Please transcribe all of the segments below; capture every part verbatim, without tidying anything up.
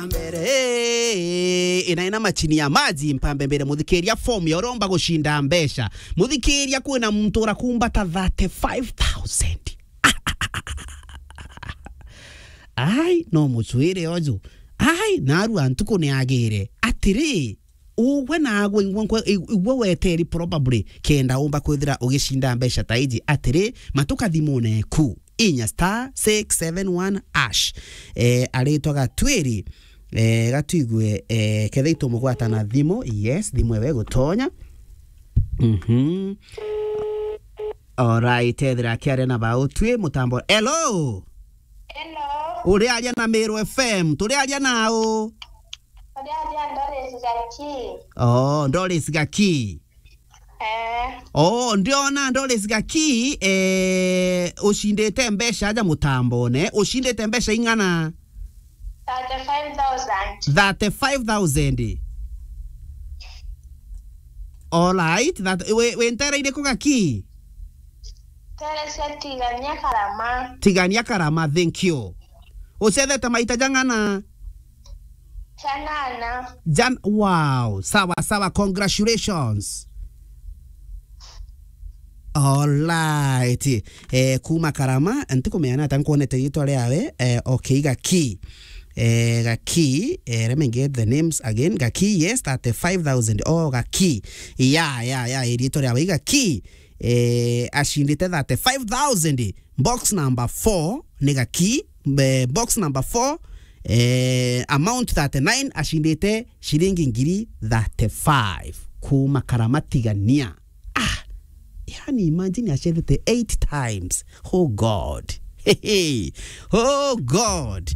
Mbere, eh, ina, ina machini ya maji, mpambe mbere, muthikiria form ya uria umba gucinda mbeca. Muthikiria, kwina muntu urakumbata thirty-five thousand. Ai, no mucwire uju. Ai, narua ntuku ni agire. Atiri, ugwe nagwe, igwe nkwe-, igwe weteri probably, kenda umba kwithira ugicinda mbeca ta iji. Atiri, matuka thimune ku. Inya star six seven one hash. Eh, aritwa Gatwiri. Eh, gatwigwe, eh, kethira itumugwata na thimu. Yes, thimu ewe gutonya. Mhm. Alright, ethira akiaria na bautwi mutambo. Hello? Hello? Uriaria na Meru F M, turiaria nau? Uriaria Doris Gaki. Oh, Doris Gaki. Eh. Oh, ndiona Doris Gaki, eh, ucindite mbeca aja mutambone. Ucindite mbeca ing'ana? Thirty-five thousand. Thirty-five thousand. Alright, that, wi, wi ntere iriku Gaki? Teresia Tigania Karama. Tigania Karama, thank you. Ucethete maita jang'ana? Janana. Jan-, wow, sawa, sawa, congratulations. Alright. Eh, kuma Karama, ntikumeana ata nkwonete ritwa riawe, eh, okay, Gaki. Eh, Gaki, eh, let me get the names again. Gaki, yes, thirty-five thousand. Oh, Gaki. Ya, ya, ya, ritwa riawe Gaki. Eh, acindite thirty-five thousand. Box number four ni Gaki. Eh, box number four, eh, amount thirty-nine, acindite ciringi ngiri thirty-five. Kuma Karama Tigania. Ah, yani imagine acethete eight times. Oh God. Hey, hey. Oh God.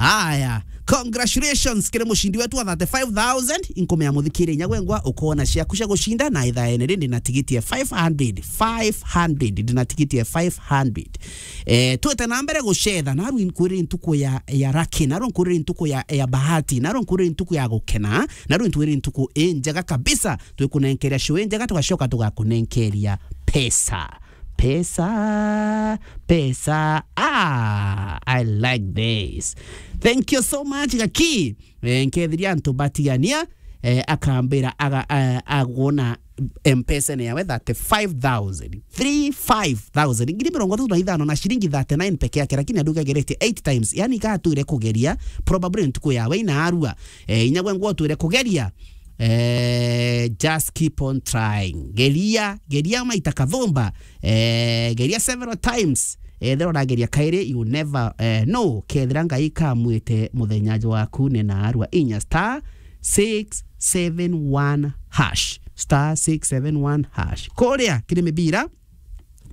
Aya, congratulations kiri mucindi wetu wa thirty-five thousand. Inkumea muthikiri inya gwengwa ukona ciaku cia gucinda na ithaene rindi na tigiti ya five hundred, five hundred, ndi na tigiti ya five hundred. Eh, twete na mbere gucetha, narua nkwirire ntuku ya, ya lucky, narua nkwirire ntuku ya, ya bahati, narua nkwirire ntuku ya gukena, narua nkwirire ntuku injega kabisa. Twikunenkeria show injega, tugacoka tugakunenkeria pesa. Pesa, pesa. Ah, I like this. Thank you so much, Gaki. Eh, nkethiria antu batigania, eh, akambira aga-, eh, agona M-Pesa-ini yawe thirty-five thousand. Three five thousand. Ngiri mirongo itatu na ithano na ciringi thirty-nine peke yake, lakini andu gageretie eight times. Yani, igatwire kugeria, probably ntuku yawe inarua. Eh, inya gwe ngwa utwire kugeria. Eh, just keep on trying. Geria, geria maita kathumba. Eh, geria several times. Ethira urageria kairi, you never, eh, know. Kethira Ngai kamwite muthenya waku ni narua, inya star six seven one hash. Star six seven one hash. Kuria kiri mibira,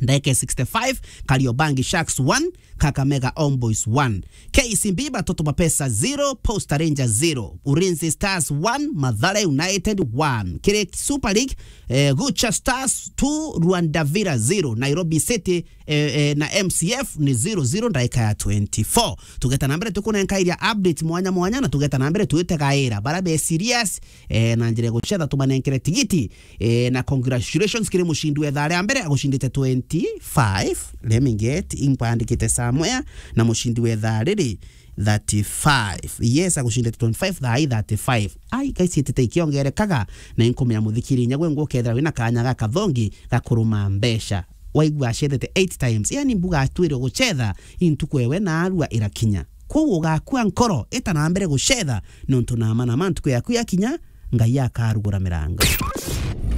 ndagika sixty-five, Kariobangi Sharks one, Kakamega Homeboyz one. K C B Batoto ba Pesa zero, Posta Rangers zero, Ulinzi Stars one, Mathare United one. Kiri Super League, eh, Gucha Stars two, Rwanda Villa zero, Nairobi City, eh, eh, na M C F ni zero zero ndagika ya twenty-four. Tugeta na mbere tukunenka iria update mwanya mwanya, na tugeta na mbere twitegaira bara be serious, eh, na njira ya gucetha tumanenkere tigiti. Eh, na congratulations kiri mucindi wa ithaa ria mbere agucindite twenty-five. Let me get, impandikite somewhere, na mucindi wa ithaa riri thirty-five. Yes, agucindite twenty-five, thaa ii thirty-five. Ai, guys, itite ikiongerekaga, na inkumenya muthikiri inya gwe ngukethira wina kanya ga kathongi ga kuruma mbeca. Waigua acethete eight times, yani mbuga atwire gucetha, intuku ewe narua irakinya. Kwou ugakua nkoro, ita na mbere gucetha, nontu nama nama ntuku yaku yakinya, Ngai akarugura mirango.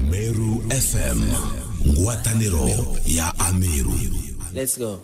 Meru F M, ngwataniro ya Ameru. Let's go.